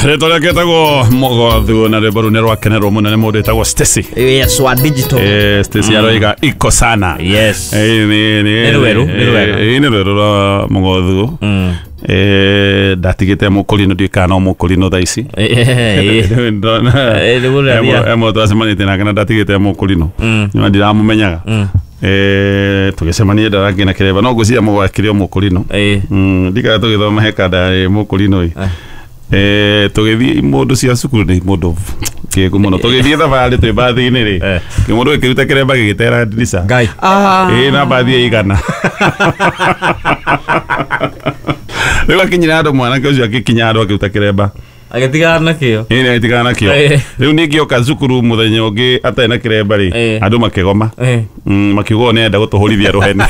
Rĩtwa rĩake etagwo Mũgothu na rwĩmbo rũu nĩ rwakenerwo mũno nĩ mũndũ wĩtagwo Stacy. Yes, wa digital. Stacy aroiga iko sana. Yes. Nĩ rwerũ, nĩ rwega. Nĩ rwerũ rwa Mũgothu. Ndatigĩte mũkũrinũ, ndiũĩ kana no mũkũrinũ thaa ici. Nĩguo ũraria. Ĩmwe twacemanĩtie nake na ndatigĩte mũkũrinũ, no ndiramũmenyaga. Tũgĩcemania ndarangĩ na kĩremba, no ngwĩciria mũgwakĩrĩ o mũkũrinũ. Ndikara tũgĩthoma he kanda yarĩ mũkũrinũ ĩ. Tũgĩthiĩ mũndũ cia cukuru nĩ mũndũ kĩgu mũno, tũgĩthiĩ thabarĩ twĩ mbathi-inĩ rĩ, kĩmũndũ gĩkĩruta kĩremba gĩgĩtera ndirica. Ngai. Ĩ na mbathi ĩ igana rĩu akinyire andũ, mwanake ũcio agĩkinya andũ akĩruta kĩremba. Agĩtigana nakĩo. Ĩ nĩ agĩtigana nakĩo. Rĩu ningĩ oka cukuru mũthenya ũngĩ atarĩ na kĩremba rĩ, andũ makĩgoma. Makiuga ũyũ nĩarenda gũtũhũrithia rũheni,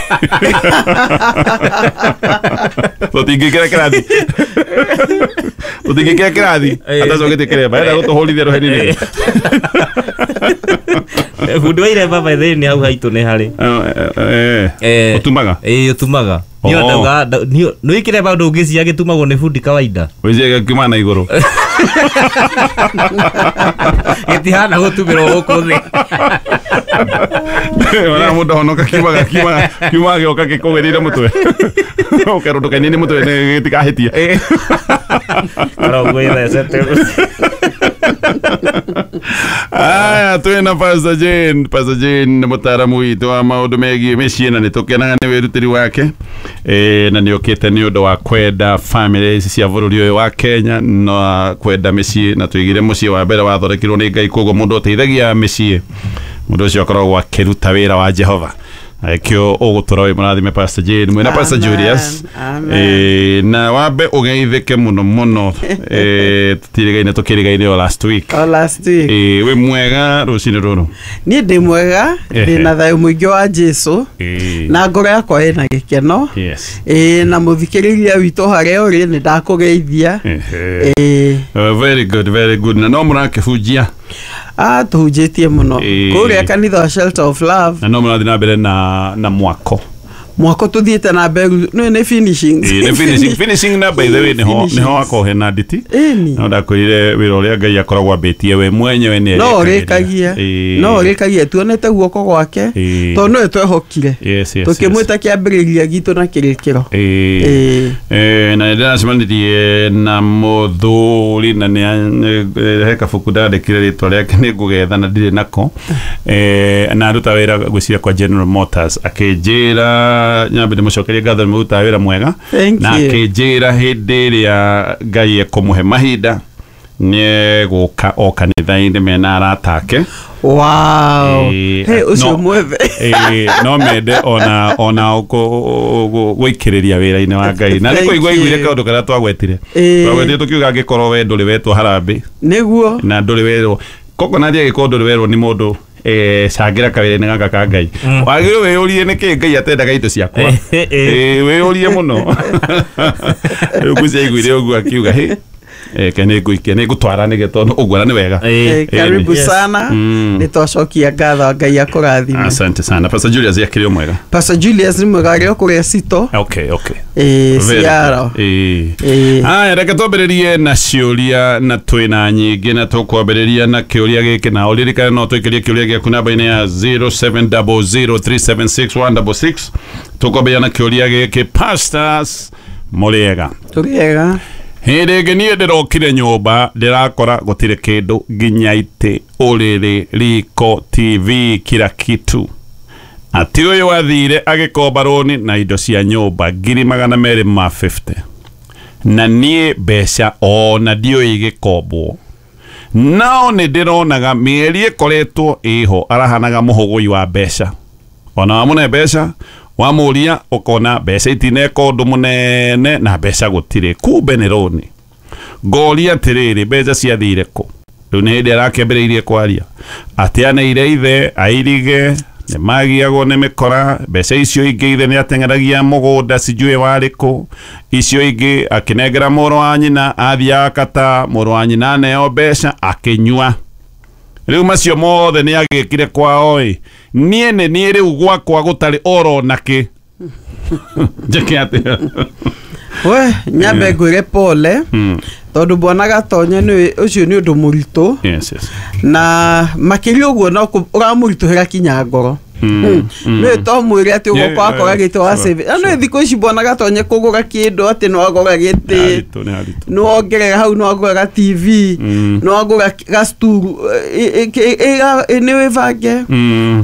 tũtingĩingĩra kĩrathi, tũtingĩingĩra kĩrathi atacoketie kĩremba, arenda gũtũhũrithia rũheni nĩkĩ? Bundi wa iremba by the way nĩ hau haitũ nĩ harĩ. Ũtumaga? Ĩĩ, ũtumaga. Niĩ Oh. ndauga nĩ kĩremba ndũngĩcia gĩtumagwo nĩ bundi kawaida. Wĩciria gĩkiuma na igũrũ. Gĩtihana gũtumĩrwo gũkũ thĩ. Ona mũndũ ahonoka kiumaga kiumaga kiumaga gĩoka gĩkũgĩrĩire mũtwe, ũkerwo ndũkainainie mũtwe gĩtikahĩtie. Karogwĩthecete. Aya, twĩna Pastor Jane. Pastor Jane nĩ mũtaaramu witũ wa maũndũ megiĩ mĩciĩ na nĩ tũkenaga nĩ wĩrutĩri wake. Na nĩ okĩte nĩ ũndũ wa kwenda family ici cia bũrũri ũyũ wa Kenya na kwenda mĩciĩ, na tũigire mũciĩ wa mbere wathondekirwo nĩ Ngai, koguo mũndũ ũteithagia mĩciĩ, mũndũ ũcio akoragwo akĩruta wĩra wa Jehova. Kĩo ũgũtũra wĩ mũrathime, Pastor Jane, mwĩna Pastor Amen, Julius. amen. Na wambe ũgeithĩke mũno mũno. Tũtirigaine, tũkĩrigaine o last week. O last week. Wĩ mwega rũcinĩ rũrũ? Niĩ ndĩ mwega, ndĩ na thayũ mũingĩ wa Jesu na ngoro yakwa ĩna gĩkeno. Ĩĩ, na mũthikĩrĩria witũ harĩa ũrĩ, nĩ ndakũgeithia. Ĩĩ. Very good, very good. Na no mũrakĩhunjia? Ah, tũhunjĩtie mũno kũrĩa kanitha wa Shelter of Love. Na no mũrathiĩ na mbere na mwako? Mwako tũthiĩte na mbere, nĩ finishing. Ĩĩ, nĩ finishing, finishing. Na by the way nĩho nĩho hakoragwo hena nditi. Ĩni. No ndakwĩrire wĩra ũrĩa Ngai akoragwo ambĩtie we mwenyewe nĩ No arĩkagĩria. ũrĩkagia. No ũrĩkagia, tuonete guoko gwake, tondũ nĩwe twehokire tũkĩmwĩta kĩambĩrĩria gitũ na kĩrĩkĩro. Ĩĩ. Na nĩ ndĩracemanirie na mũthuri na nĩ he kabuku ndandĩkire rĩtwa rĩake, nĩ ngũgetha na ndirĩ nako. Na aruta wĩra ngwĩciria kwa General Motors, akĩnjĩra nyambe ndĩmũcokerie ngatho nĩ mũrutaga wĩra mwega. Thank Na you. akĩnjĩra hĩndĩ ĩrĩa Ngai ekũmũhe mahinda nĩ egũka o kanitha-inĩ mena arata ake. Wow. Hey, ũcio mwethe. No mende ona gũikĩrĩria wĩra-inĩ wa Ngai na nĩ Thank kũigua you. iguire kaũndũ karĩa twagwetire. Twagwetire tũkiuga angĩkorwo we ndũrĩ wetwo harambĩ Nĩguo. na ndũrĩ werwo kokonati, angĩkorwo ndũrĩ werwo nĩ mũndũ, cangĩra kawĩra-inĩ gaka ka Ngai, wagĩrĩirwo wĩyũrie nĩkĩ Ngai atendaga indo ciakwa. Wĩyũrie mũno. Rĩu ngwĩciria aiguire ũguo akiuga, "Hĩ, ke nĩ ngũikia, nĩ ngũtwara nĩge tondũ ũguo na nĩ wega." Karibu Yes. sana. Nĩ twacokia ngatho, Ngai akũrathime. Asante sana. Pastor Julius akĩrĩ o mwega? Pastor Julius nĩ mwega, arĩ o kũrĩa Cito. Okay. Ĩĩ, Very Ciaro. good. Ĩĩ. Ĩĩ. Aya, reke twambĩrĩrie na ciũria, na twĩna nyingĩ, na tũkwambĩrĩria na kĩũria gĩkĩ, na ũririkane no twĩkĩrie kĩũria gĩaku namba-inĩ ya 0700376166. Tũkwambĩrĩria na kĩũria gĩkĩ. Pastors, mũrĩega? Tũrĩega. Hĩndĩ ĩngĩ niĩ ndĩrokire nyũmba, ndĩrakora gũtirĩ kĩndũ, nginya itĩ, ũrĩrĩ, riko, TV, kila kitu. Ati ũyũ athire agĩkomba rũni na indo cia nyũmba 250,000, na niĩ mbeca ona ndiũĩ igĩkombwo, nao nĩ ndĩronaga mĩeri ĩkoretwo ĩho arahanaga mũhũgũi wa mbeca. Ona wamũne mbeca, wamũria ũkona mbeca itineka ũndũ mũnene na mbeca gũtirĩ, kumbe nĩ rũni. Ngoria atĩrĩrĩ, mbeca ciathire kũ? Rĩu nĩ hĩndĩ arakĩambĩrĩirie kwaria atĩ aneire ithe airige nĩ magiagwo nĩ mĩkora mbeca icio ingĩ, ithe nĩ ateng'eragia mũgũnda sijui warĩ kũ, icio ingĩ akĩnengera mũrũ wa nyina, athiaga kata mũrũ wa nyina aneo mbeca akĩnyua. Rĩu macio mothe nĩ agĩkire kwao. Ĩ niĩ nĩ niĩ rĩu gwakwa gũtarĩ oro nakĩ, njĩke atĩa? We nyambe ngwĩre pole. Tondũ bwana Gatonye nĩ ũcio nĩ ũndũ mũritũ. Yes, yes. Na makĩria ũguo no ũramũritũhĩra kinya ngoro. Nĩ to mwĩre atĩ ũgoka wakora gĩtĩ wa save. Na nĩ thikũ ici bwana Gatonye kũgũra kĩndũ atĩ no agũra gĩtĩ. No ongerera hau no agũra TV, no agũra gasturu nĩ wĩbange.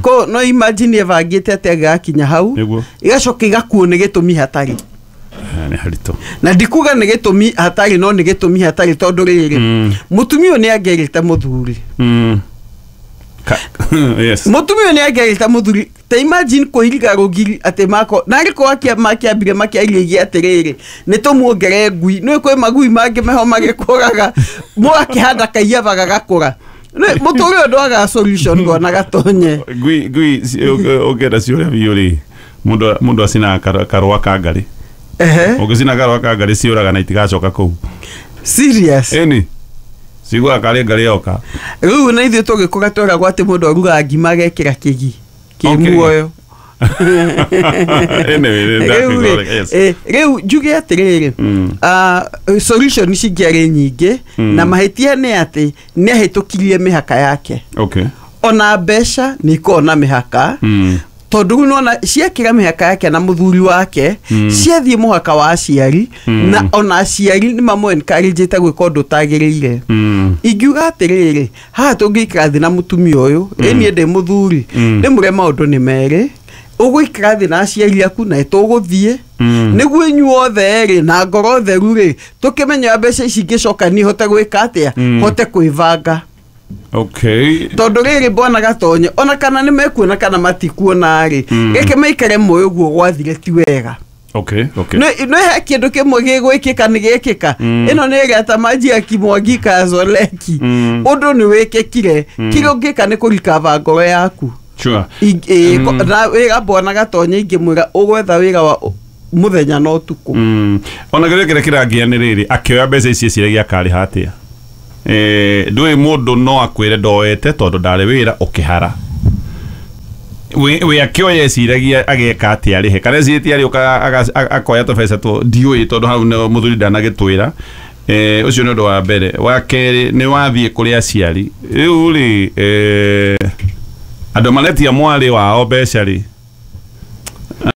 Ko no imagine ĩbangĩte atĩ agakinya hau. Igacoka igakuo nĩ gĩtũmi hatarĩ. Nĩ haritũ. Na ndikuga nĩ gĩtũmi hatarĩ no nĩ gĩtũmi hatarĩ tondũ rĩrĩ mũtumia ũyũ nĩ angĩerĩte mũthuri. Yes. Mũtumia ũyũ nĩ angĩerĩte mũthuri ta imagine kũiriga rũgiri atĩ mako na arĩko makĩambire makĩarĩria atĩrĩrĩ nĩ tũmuongere ngui nĩ kwĩ magui mangĩ meho magĩkũraga mũgakĩhanda kaiyaba gagakũra. Mũtũrĩre ũyũ ndwagaga solution bwana Gatonye. Ngui ũngĩenda ciũria biũ rĩ mũndũ acinaga karũa ka ngarĩ. Ũngĩcina karũa ka ngarĩ ciũraga na itigacoka kũu. Serious? Ĩni. Ciguaga karĩ ngarĩ yoka. Rĩu na ithuĩ tũgĩkũra tweragwo atĩ mũndũ arugaga ngima agekĩra kĩgi kĩ muoyo. Rĩu njuge atĩrĩrĩ solution cingĩarĩ nyingĩ na mahĩtia nĩ atĩ nĩ ahĩtũkirie mĩhaka yake. Okay. Ona mbeca nĩ ikoragwo na mĩhaka. Tondũ rĩu nĩwona ciakĩra mĩhaka yake na mũthuri wake ciathiĩ mũhaka wa aciari na ona aciari nĩ mamũ encourage-ĩte gwĩka ũndũ ũtagĩrĩire. Ingiuga atĩrĩrĩ haha tũngĩikara thĩ na mũtumia ũyũ ĩ niĩ ndĩ mũthuri ndĩmũre maũndũ nĩ merĩ ũgũikara thĩ na aciari aku na tũgũthiĩ nĩguo inyuothe rĩ na ngoro theru rĩ tũkĩmenya mbeca ici ingĩcoka niĩ hote gwĩka atĩa hote kwĩbanga. Okay. Tondũ rĩrĩ bwana Gatonye ona kana nĩ mekuona kana matikuona rĩ reke maikare moyo ũguo gwathire ti wega. Okay, okay. Nĩ he kĩndũ kĩmwe gĩgwĩkĩka nĩ gĩkĩka. Ĩno nĩ ĩrĩa ta maji ya kimwagika ya Zoleki. Ũndũ nĩ wĩkĩkire kĩrĩa ũngĩka nĩ kũrikava ngoro yaku. Sure. Na wĩra bwana Gatonye ingĩmwĩra ũgwetha wĩra wa mũthenya na ũtukũ. Ona kĩrĩa kĩrĩa kĩrangia nĩ rĩrĩ akĩoya mbeca ici eciragia akarĩha atĩa. Ndũĩ mũndũ no akwĩre ndoete tondũ ndarĩ wĩra ũkĩhara. We akĩoya eciragia ageka atĩa arĩhe kana ecirĩtie arĩũka akoya tũbeca tũ ndiũĩ tondũ hau mũthuri ndanagĩtwĩra. Ũcio nĩ ũndũ wa mbere. Wa kerĩ nĩ wathiĩ kũrĩ aciari rĩu rĩ andũ maretia mwarĩ wao mbeca rĩ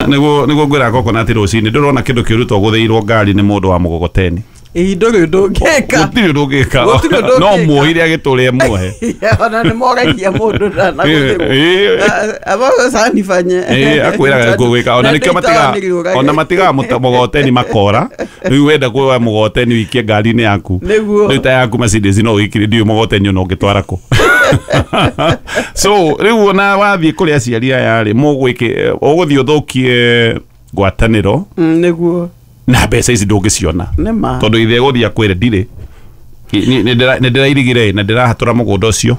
nĩguo ngwĩra coconut rũcinĩ ndũrona kĩndũ kĩũru to gũthĩirwo ngari nĩ mũndũ wa mũgogoteni. Ĩ ndũrĩ ũndũ ũngĩka. Gũtirĩ ũndũ ũngĩka. No muohire agĩtũrĩe muohe. Ona nĩ moragia mũndũ ndanaguthĩrwo. Abo sanifanye. Akwĩraga gũgĩka ona nĩkĩo matiga ona matiga mũgogoteni makora. Rĩu wenda kuoya mũgogoteni wikie ngari-inĩ yaku. Rĩu ta yaku Mercedes no wĩkire ndiũĩ mũgogoteni ona ũngĩtwara kũ. So rĩu ona wathiĩ kũrĩ aciari aya rĩ mũgwĩke ũgũthiĩ ũthũkie ngwatanĩro. Nĩguo. Na mbeca ici ndũngĩciona tondũ ithe gũthiĩ akwĩre ndirĩ nĩ ndĩrairigire na ndĩrahatũra mũgũnda ũcio.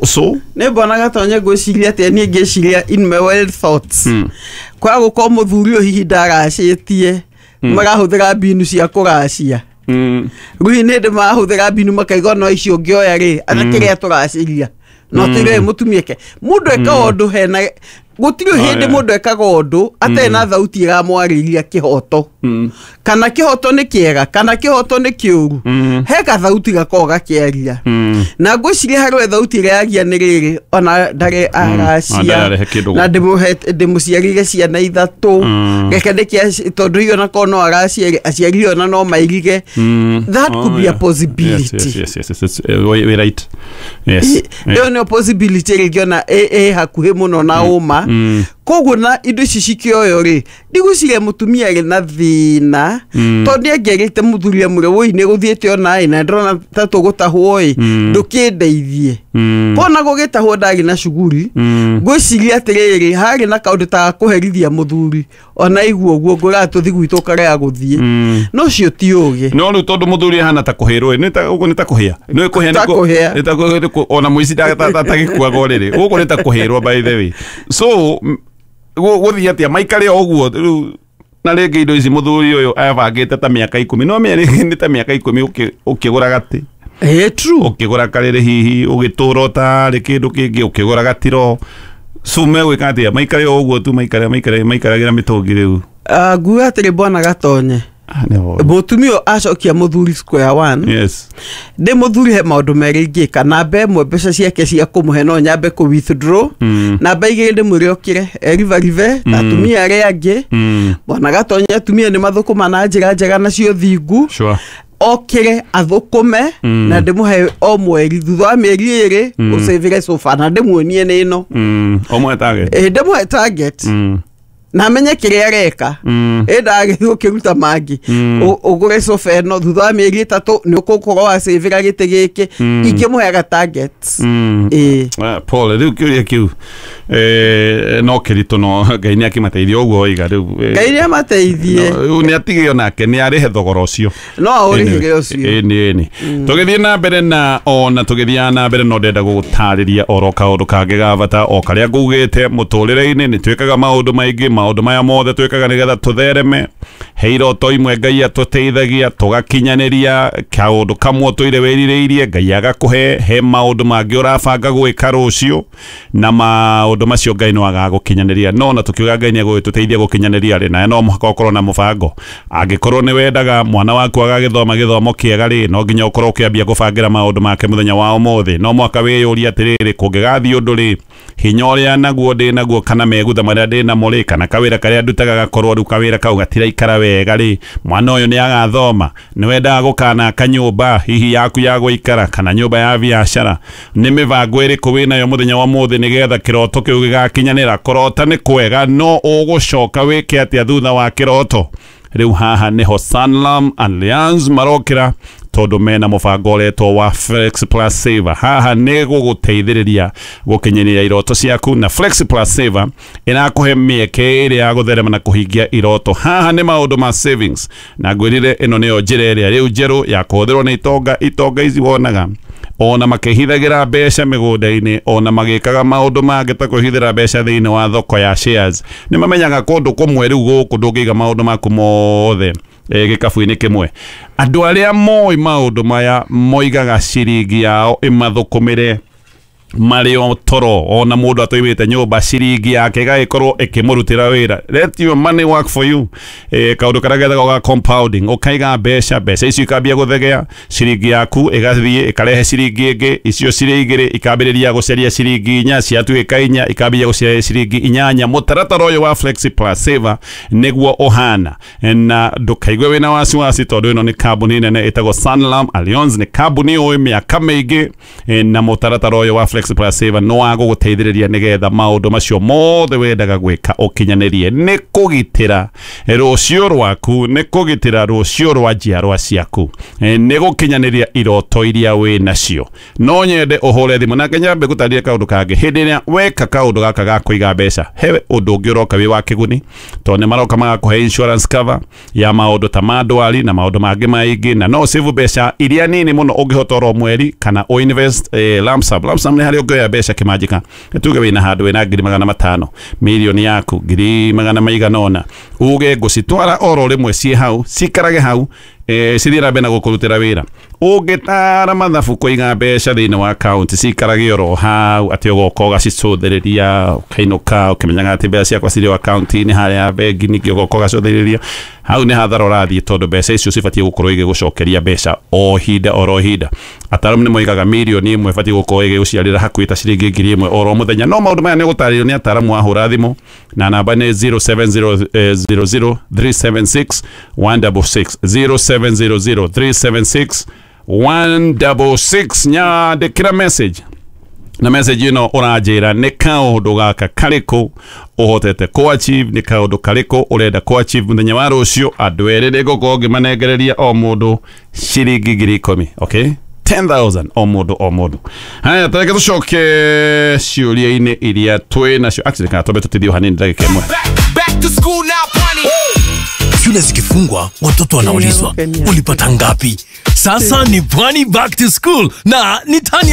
So nĩ bwana Gatonye ngwĩciria atĩa niĩ ngĩciria in my wild thoughts kwaga gũkorwo mũthuri ũyũ hihi ndaracĩtie marahũthĩra mbinu cia kũracia. Rĩu nĩ hĩndĩ marahũthĩra mbinu makaigua no icio ũngĩoya rĩ ata kĩrĩa tũraciria no tũire mũtumia ke mũndũ ekaga ũndũ hena gũtirĩ hĩndĩ mũndũ ekaga ũndũ atarĩ na thauti ĩramwarĩria kĩhoto. Kana kĩhoto nĩ kĩega kana kĩhoto nĩ kĩũru he gathauti gakoragwo gakĩaria. Na ngwĩciria harĩ thauti ĩrĩa yagia nĩ rĩrĩ ona ndarĩ aracia na ndĩmũciarire ciana ithatũ reke ndĩkĩ tondũ hihi ona korwo no araciarire aciari ona no mairige. That could be a possibility. Yes, yes, yes, we right. Yes. Ĩyo nĩyo possibility ĩrĩa ingĩona ĩ hakuhĩ mũno na ũma. Koguo na indo ici cikĩoyo rĩ ndigwĩciria mũtumia arĩ na thĩna tondũ nĩ angĩerĩte mũthuri amwĩre wũi nĩ gũthiĩte ona ĩ na ndĩrona ta tũgũtahwo ĩ ndũkĩndeithie. Kona gũgĩtahwo ndarĩ na cuguri ngwĩciria atĩrĩrĩ harĩ na kaũndũ ta kũherithia mũthuri ona igua ũguo ngũraga tũthi gwitũ ũkarega gũthiĩ no ũcio ti ũgĩ. No rĩu tondũ mũthuri ahana ta kũhĩrwo ĩ ũguo nĩ ta kũhĩa nĩ kũhĩa nĩ ta ona mũici atagĩkuaga rĩrĩ gũkũ nĩ ta kũhĩrwo by the way. So gũthiĩ atĩa maikare o ũguo rĩu na rĩngĩ indo ici mũthuri ũyũ abangĩte ta mĩaka 10 no mĩerĩ nĩ ta mĩaka 10 ũkĩgũra gatĩ. True. Ũkĩgũra karĩrĩ hihi ũgĩtũra ũtarĩ kĩndũ kĩngĩ ũkĩgũra gatiro. So megwĩka atĩa maikare o ũguo tu maikare maikaragĩra mĩtũngi rĩu. Nguga atĩrĩ bwana Gatonye Mũtumia acokia mũthuri square one. Yes. Ndĩ mũthuri he maũndũ merĩ ingĩka. Namba ĩmwe, mbeca ciake cia kũmũhe no nyambe kũ withdraw. Namba igĩrĩ, ndĩmwĩre okĩre erivarive ta atumia arĩa angĩ. Bwana Gatonya, atumia nĩ mathũkũma na njĩra njega na cio thingu. Okĩre athũkũme na ndĩmũhe o mweri, thutha wa mĩeri 2 ũcĩvĩre sofa na ndĩmuonie nĩ ĩno. Ũmũhe target. Ĩ, ndĩmũhe target na amenye kĩrĩa areka. Ĩ, ndagĩthiĩ ũkĩruta mangĩ. Ũgũre sofa ĩno, thutha wa mĩeri 3 nĩ ũgũkorwo wacĩvĩra gĩtĩ gĩkĩ. Ingĩmũheaga target. Ĩ. Ah, Paul, rĩu kĩũria kĩu no kĩritũ, no Ngai nĩ akĩmateithia ũguo oiga rĩu. Ngai nĩ amateithie. Rĩu nĩ atige onake nĩ arĩhe thogora ũcio. No aũrĩhĩre ũcio. Ĩni, ĩni. Tũgĩthiĩ na mbere na ona tũgĩthiaga na mbere, no ndenda gũgũtarĩria oro kaũndũ kangĩ ga bata o karĩa ngugĩte. Mũtũrĩre-inĩ nĩ twĩkaga maũndũ maingĩ. Maũndũ maya mothe twĩkaga nĩgetha tũthereme. He iroto imwe Ngai atũteithagia tũgakinyanĩria, kaũndũ kamwe ũtũire wĩrirĩirie Ngai agakũhe. He maũndũ mangĩ ũrabanga gwĩka rũciũ na maũndũ macio Ngai no agagũkinyanĩria. No na tũkiuga Ngai nĩ egũgĩtũteithia gũkinyanĩria rĩ, nawe no mũhaka ũkorwo na mũbango. Angĩkorwo nĩ wendaga mwana waku agagĩthoma gĩthomo kĩega rĩ, no nginya ũkorwo ũkĩambia gũbangĩra maũndũ make mũthenya wa ũmũthĩ. No mũhaka wĩyũrie atĩrĩrĩ, kũngĩgathiĩ ũndũ rĩ, hinya ũrĩa naguo ndĩ naguo kana megutha marĩa ndĩ namo rĩ, kana kawĩra karĩa ndutaga gakorwo rĩu kawĩra kau gatiraikara wega rĩ, mwana ũyũ nĩ agathoma? Nĩ wendaga gũkanaka nyũmba hihi yaku ya gũikara kana nyũmba ya biacara, nĩ mĩbango ĩrĩkũ wĩnayo mũthenya wa mũthĩ nĩgetha kĩroto kĩu gĩgakinyanĩra? Kũrota nĩ kwega, no ũgũcoka wĩke atĩa thutha wa kĩroto? Rĩu haha nĩho Sanlam Alliance marokĩra, tondũ mena mũbango ũretwo wa Flex Plus Saver. Haha nĩ gũgũteithĩrĩria gũkinyanĩria iroto ciaku, na Flex Plus Saver ĩrakũhe mĩeke ĩrĩa ya gũtherema na kũhingia iroto. Haha nĩ maũndũ ma savings, na ngwĩrire ĩno nĩyo njĩra ĩrĩa rĩu njerũ ya kũhũthĩrwo nĩ itonga. Itonga ici wonaga ona makĩhithagĩra mbeca mĩgũnda-inĩ, ona magĩkaga maũndũ mangĩ ta kwĩhithĩra mbeca thĩinĩ wa thoko ya shares, nĩ mamenyaga kũndũ kũmwe rĩu gũkũ ndũngĩiga maũndũ maku mothe gĩkabu-inĩ kĩmwe. Andũ arĩa moĩ maũndũ maya moigaga ciringi yao ĩmathũkũmĩre marĩ o toro, ona mũndũ atũimĩte nyũmba ciringi yake ĩgagĩkorwo ĩkĩmũrutĩra wĩra. Let your money work for you. Kaũndũ karĩa gethagwo ga compounding, ũkaiga mbeca, mbeca icio ikambia gũthegea, ciringi yaku ĩgathiĩ ĩkarehe ciringi ĩngĩ, icio cirĩ igĩrĩ ikambĩrĩria gũcaria ciringi inya, ciatuĩka inya ikambĩrĩria gũcaria ciringi inyanya. Mũtaratara ũyũ wa Flexi Plus Saver nĩguo ũhana, na ndũkaigue wĩna wasiwasi tondũ ĩno nĩ kambuni nene ĩtagwo Sanlam Alliance, nĩ kambuni ũĩ mĩaka mĩingĩ, na mũtaratara ũyũ wa Flexi Plus Saver no wa gũgũteithĩrĩria nĩgetha maũndũ macio mothe wendaga gwĩka ũkinyanĩrie. Nĩ kũgitĩra rũciũ rwaku, nĩ kũgitĩra rũciũ rwa njiarwa ciaku, nĩ gũkinyanĩria iroto iria wĩ nacio. No nyende ũhũre thimũ na nyambe gũtarĩria kaũndũ kangĩ. Hĩndĩ ĩrĩa weka kaũndũ gaka ga kũiga mbeca, he ũndũ ũngĩ ũroka wĩ wa kĩguni, tondũ nĩ maroka magakũhe insurance cover ya maũndũ ta ma ndwari na maũndũ mangĩ maingĩ, na no save mbeca iria nini mũno ũngĩhota oro mweri, kana ũ invest lump sum. Lump sum nĩ harĩa ũngĩoya mbeca kĩmanjĩka, tuge wĩna handũ wĩna 500,000, mirioni yaku ngiri magana maigana ũna, uge ngũcitwara oro rĩmwe ciĩ hau, cikarage hau, cithiĩ na mbere na gũkũrutĩra wĩra. Ũngĩtara mathabu kũiga mbeca thĩinĩ wa akaunti cikarage oro hau, atĩ ũgoka ũgacicũthĩrĩria ũkainũka ũkĩmenyaga atĩ mbeca ciakwa cirĩ o akaunti-inĩ harĩa bengi, ningĩ ũgoka ũgacũthĩrĩria, hau nĩ hathara ũrathiĩ, tondũ mbeca icio cibatiĩ gũkorwo igĩgũcokeria mbeca o hinda oro hinda. Ataaramu nĩ moigaga 1 million ĩbatiĩ gũkorwo ĩgĩgũciarĩra hakuhĩ ta ciringi 1,000 oro mũthenya. No maũndũ maya nĩ ũgũtarĩrio nĩ ataaramu wahũra thimũ, na namba nĩ 0700 376 166, 0700 376 166. Nyandĩkĩra message, na message ĩno ũranjĩra nĩ kaũndũ gaka karĩkũ ũhotete kũ achieve, nĩ kaũndũ karĩkũ ũrenda kũ achieve mũthenya wa rũciũ. Andũ erĩ nĩ ngũkorwo ngĩmanengereria o mũndũ ciringi 10,000, okay, 10,000 o mũndũ o mũndũ. Haya, tareke tũcoke ciũria-inĩ iria twĩ nacio. Actually, kana twambe tũtithio hanini ndagĩka ĩmwe. Back to school now, Pwani. Shule zikifungwa, watoto wanaulizwa, Kenya. ulipata ngapi? Sasa ni Pwani Back to School na ni tani.